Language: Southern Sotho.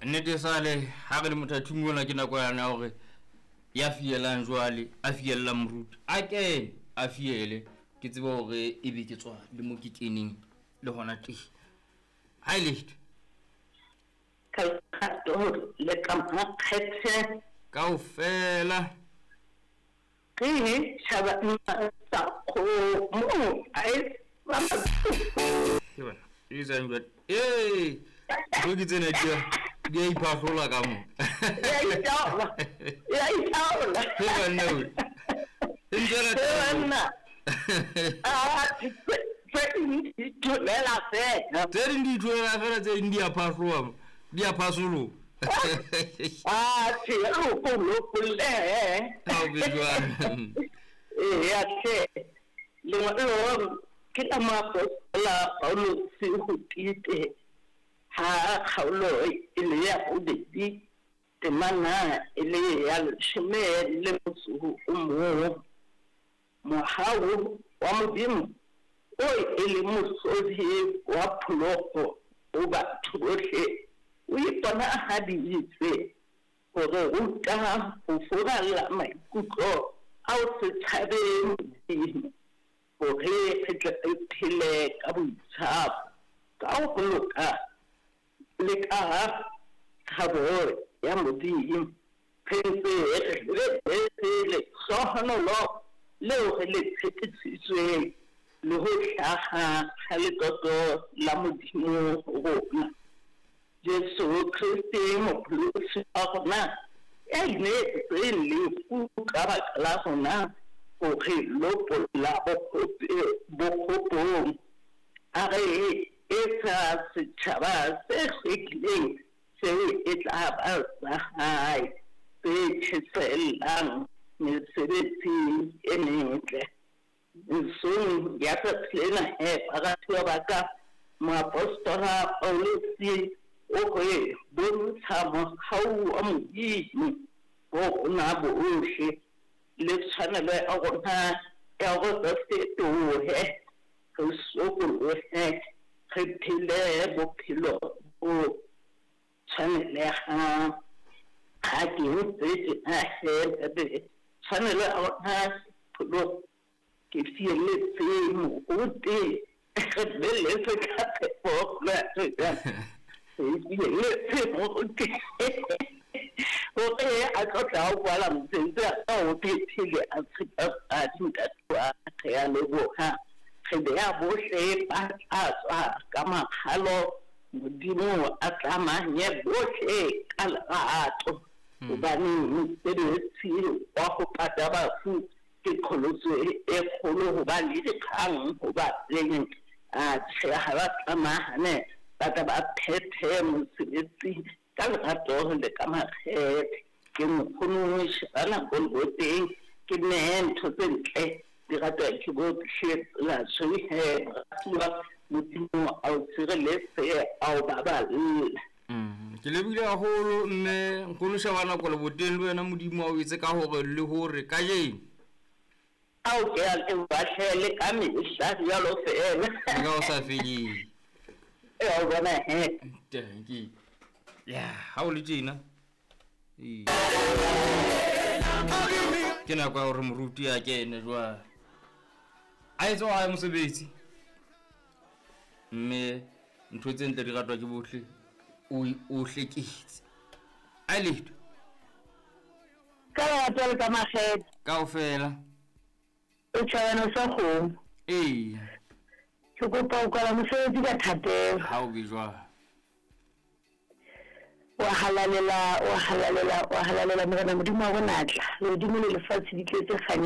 Nnete sale ha re le mothathing ona ke nako yana ya hore ya fielang jwale a fiella moruti a kene a fiele ke tsebe hore ebe ke tswa le mo ke keneng le hona teng. Ha e letho. Ka lerato le ka makgethe. Kaofela. Re tjhaba sa kgomo a e Ke bona. E tsang jwale. Ee, ntho ke tsena di a di a iphahlola ka mo. Ya itaola. Ya itaola. He banna we. E ntse He banna. Ah, tse ding di itholela fela. Tse ding di itholela fela, tse ding di a phahloha, di a phasoloha. Ah, tjhe, re ko lopolle. Ha o be jwang. Eya hle. Lengolo ke la moapostola Pauluse ho Tite ha kgaolo e le ya bobedi temana e le ya leshome le motso o mong. Mohau wa Modimo o e leng mohlodi wa pholoho ho batho bohle o iponahaditse ho re ruta ho furalla maikutlo a ho se tshabe Modimo hore re tle re phele ka boitshapo, ka ho loka le ka tshabo ya Modimo, re ntse re lebeletse lehlohonolo leo re le tshepisitsweng le ho hlaha ha letlotlo la Modimo ho rona. Jesu Kreste Mopholosi wa rona, ya ineetseng lefu ka baka la rona ho re lopolla bokgopong, a re etsa setjhaba se hlwekileng seo e tla ba sa hae, se tjhesehellang mesebetsi e metle. Mesong ya tsatsi lena he, baratuwa ba ka, moapostola Pauluse o re bontsha mohau wa Modimo ho rona bohle le tshwanelo ya rona ya hore re fetohe, re sokolohe, re phele bophelo bo tshwanelehang. Ha ke ntse tjena he, ntate, tshwanelo ya rona pholoho ke fielletse moruti re beletse ka phepo re fielletse moruti hore a tlo tla o kwala mosebetsi a ka o phethile a tshepafadi ntate wa re a leboha re beha bohle ba tla tswa ka makgalo Modimo a tlamanye bohle ka lerato hobane mosebetsi wa ho pata bafu ke qholotso e kgolo ho ba le dikgang ho ba teng. Atjhe, ha ba tlamahane ba tla ba phethe mosebetsi ka lerato le ka makgethe. Ke nkgono shebana ko leboteng ke nehe ntho tse ntle di ratwa ke bohle tsela tsohe moratuwa Modimo a o sireletse a o baballe. Ke lebohile haholo mme nkgono shebana ko leboteng le wena Modimo a o etse ka hore le hore kajeno. Ao ke a leboha hle le ka mehla jwalo feela. Le ka ho sa feleng. Ee, o bona he. Thank ya ha o le tjena. Ee. Ke nako ya hore moruti a kene jwale. A etse wa hae mosebetsi. Mme ntho tse ntle di ratwa ke bohle o o hleketse. A letho. Ka lerato le ka makgethe. Kaofela. O tjhabana sa kgomo. Eya. Ke kopa ho kwala mosebetsi ka thapelo. Ha o be jwalo. Wa halalela, wa halalela, wa halalela Morena Modimo wa bonatla. Lehodimo le lefatshe di tletse kganya.